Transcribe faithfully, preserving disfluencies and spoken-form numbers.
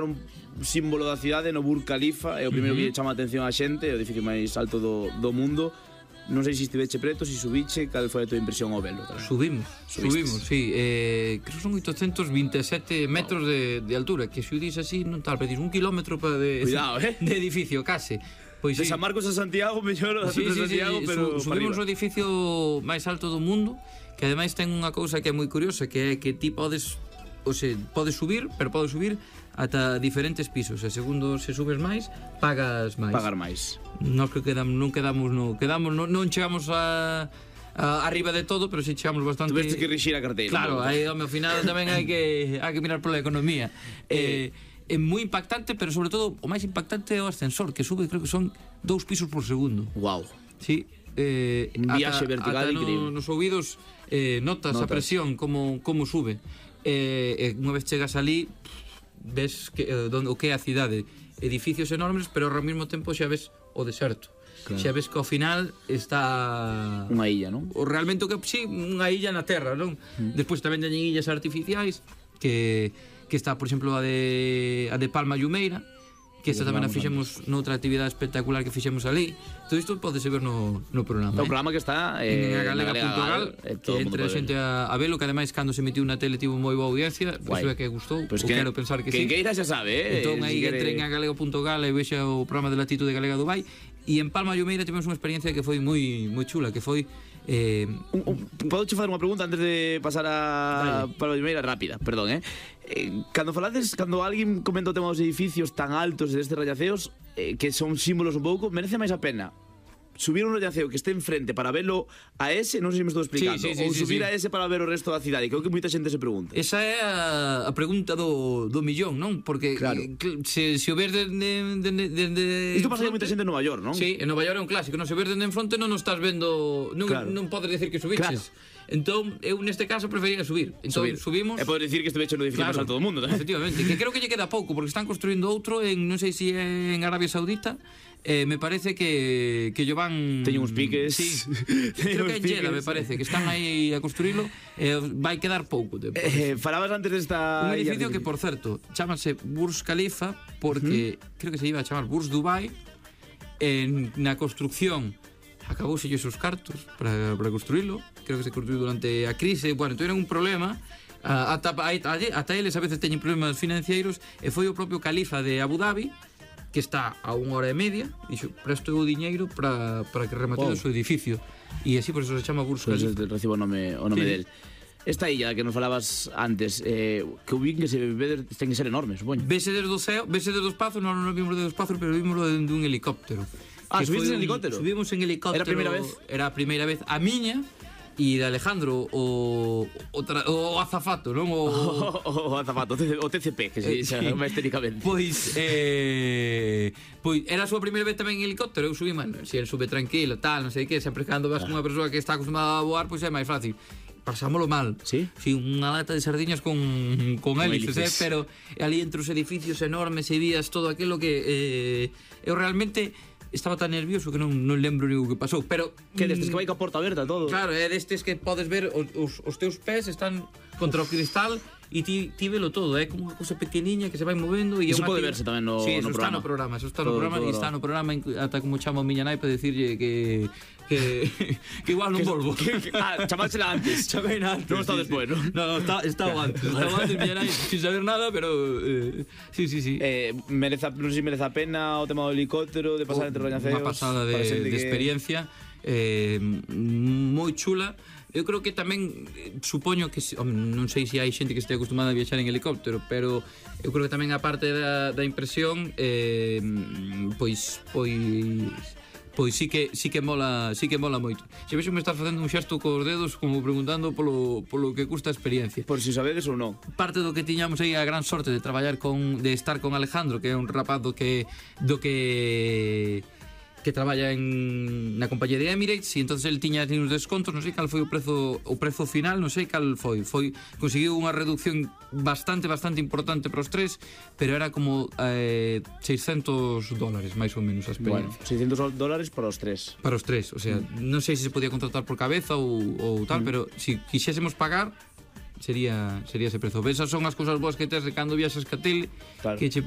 un símbolo da cidade no Burj Khalifa, é o primeiro uh -huh. que chama a atención a xente, é o edificio máis alto do, do mundo. Non sei se estiveche preto, se subiche, cal foi a tua impresión ao velo? Tamén? Subimos, Subistes? subimos, sí. Eh, creo que son oitocentos vinte e sete metros wow. de, de altura, que se o dis así non tal, pero dis un kilómetro pa de, Cuidado, eh? de edificio, case. Pois, de sí. San Marcos a Santiago, mellor sí, de sí, Santiago, sí, pero su, subimos o edificio máis alto do mundo, que ademais ten unha cousa que é moi curiosa, que é que ti podes, o sea, podes subir, pero podes subir ata diferentes pisos, e segundo se subes máis, pagas máis. Pagar máis. Nós que quedamos, non quedamos, no, quedamos non, non chegamos a, a arriba de todo, pero si sí chegamos bastante. Tuveste que rixir a carteira. Claro, ¿no? aí ao final tamén hai que hai que mirar pola economía. Eh, é moi impactante, pero sobre todo o máis impactante é o ascensor, que sube, creo que son dous pisos por segundo. Wow. Sí. Eh, un viaxe ata, vertical ata increíble. No, nos ouvidos eh, notas, notas a presión como, como sube. Eh, eh, unha vez chegas ali ves que, eh, donde, o que é a cidade, edificios enormes, pero ao mesmo tempo xa ves o deserto. Claro. Xa ves que ao final está unha illa, non? O realmente o que sí, unha illa na terra, non? Mm. Despois tamén teñen illas artificiais que que está, por exemplo, a de a de Palma Llumeira, que esta tamén a fixemos noutra actividade espectacular que fixemos ali. Todo isto podese ver no, no programa. O eh? programa que está eh, en galega punto gal, que entre a xente a, a velo, que ademais cando se emitiu na tele tivo moi boa audiencia, pois é que gustou, pues que, quero pensar que, que sí. Que queira xa sabe, eh? Entón aí si entre quere... en galega punto gal e vexa o programa de Latitude Galega Dubai. E en Palma Llumeira tivemos unha experiencia que foi moi moi chula, que foi eh, un, un, podo che fazer unha pregunta antes de pasar a vale. Palma Llumeira rápida, perdón, eh? eh cando falades, cando alguén comenta o tema dos edificios tan altos destes rallaceos, eh, que son símbolos un pouco, merece máis a pena subir un rallaceo que este enfrente para verlo a ese, non sei se me estou explicando, sí, sí, sí, ou sí, subir sí. a ese para ver o resto da cidade, creo que moita xente se pregunta. Esa é a, a pregunta do, do millón, non? Porque claro. se, se o ves de, de, de, de, de isto pasa a moita xente en Nova York, non? Sí, en Nova York é un clásico, non? Se o ves de en fronte non o estás vendo, non, claro. non podes decir que subiches. Claro. Entón, eu neste caso prefería subir. Entón, subir. subimos. E podes decir que estuveche no edificio claro, máis alto do mundo, tamén. Efectivamente, que creo que lle queda pouco, porque están construindo outro en, non sei se é en Arabia Saudita. Eh, me parece que que yo van teñen uns piques. Sí. Creo que en Jeddah, me parece, que están aí a construílo, eh, vai quedar pouco tempo. Eh, falabas antes desta un edificio que, por certo, chámase Burj Khalifa porque uh -huh. creo que se iba a chamar Burj Dubai. En na construcción acabouse os cartos para, para construílo. Creo que se construiu durante a crise. Bueno, tiveron un problema. Uh, ata, ata, ata eles a veces teñen problemas financeiros. E foi o propio califa de Abu Dhabi, que está a unha hora e media, dixo, presto o diñeiro para, para que remate oh. o seu edificio. E así por eso se chama Burj Khalifa. Pues recibo o nome, o nome sí. del. Esta illa que nos falabas antes, eh, que o que se ve, ten que ser enorme, supoño. Vese desde o ceo, vese desde o espazo, non non vimos desde o espazo, pero vimos desde un helicóptero. Ah, subiste en helicóptero? Subimos en helicóptero. Era a primeira vez? Era a primeira vez a miña e de Alejandro o o, tra, o azafato, non? O, o, o azafato, o T C P, que se dice máis técnicamente. Pois eh pois era a súa primeira vez tamén en helicóptero, eu subí, mano, se si el sube tranquilo, tal, non sei que, sempre cando vas con unha persoa que está acostumada a voar, pois é máis fácil. Pasámolo mal. Sí? Sí, unha lata de sardiñas con, con hélices, eh? Pero ali entre os edificios enormes e vías todo aquilo que eh, eu realmente estaba tan nervioso que non, non lembro ni o que pasou. Pero que destes que vai ca porta aberta todo. Claro, é destes que podes ver os, os, os teus pés están contra o cristal e ti, ti velo todo, é como unha cousa pequeniña que se vai movendo e iso pode verse tamén no, sí, no programa. Está no programa, eso está no programa e está no programa ata como chamo a miña nai para decirlle que que que igual non volvo. Que, que, ah, chamársela antes. Chameina antes. Non está sí, despois, sí. non? No, no, está estaba antes. Estaba antes miña nai sin saber nada, pero eh, sí, sí, sí. Eh, mereza, non sei se merece a pena o tema do helicóptero, de pasar oh, entre rañaceos. Unha pasada de, de que... experiencia eh, moi chula. Eu creo que tamén supoño que hombre, non sei se hai xente que este acostumada a viaxar en helicóptero, pero eu creo que tamén a parte da, da impresión eh, pois pois pois sí que sí que mola, sí que mola moito. Se vexo me estás facendo un xesto cos dedos como preguntando polo polo que custa a experiencia. Por si sabedes ou non. Parte do que tiñamos aí a gran sorte de traballar con de estar con Alejandro, que é un rapaz do que do que que traballa en na compañía de Emirates e entonces el tiña uns descontos, non sei cal foi o prezo o prezo final, non sei cal foi. Foi conseguiu unha reducción bastante bastante importante para os tres, pero era como eh, seiscentos dólares máis ou menos a experiencia. Bueno, seiscentos dólares para os tres. Para os tres, o sea, mm. non sei se se podía contratar por cabeza ou, ou tal, mm. pero se si quixésemos pagar sería sería ese prezo. Esas son as cousas boas que tes de cando viaxas ca tele, claro. Que che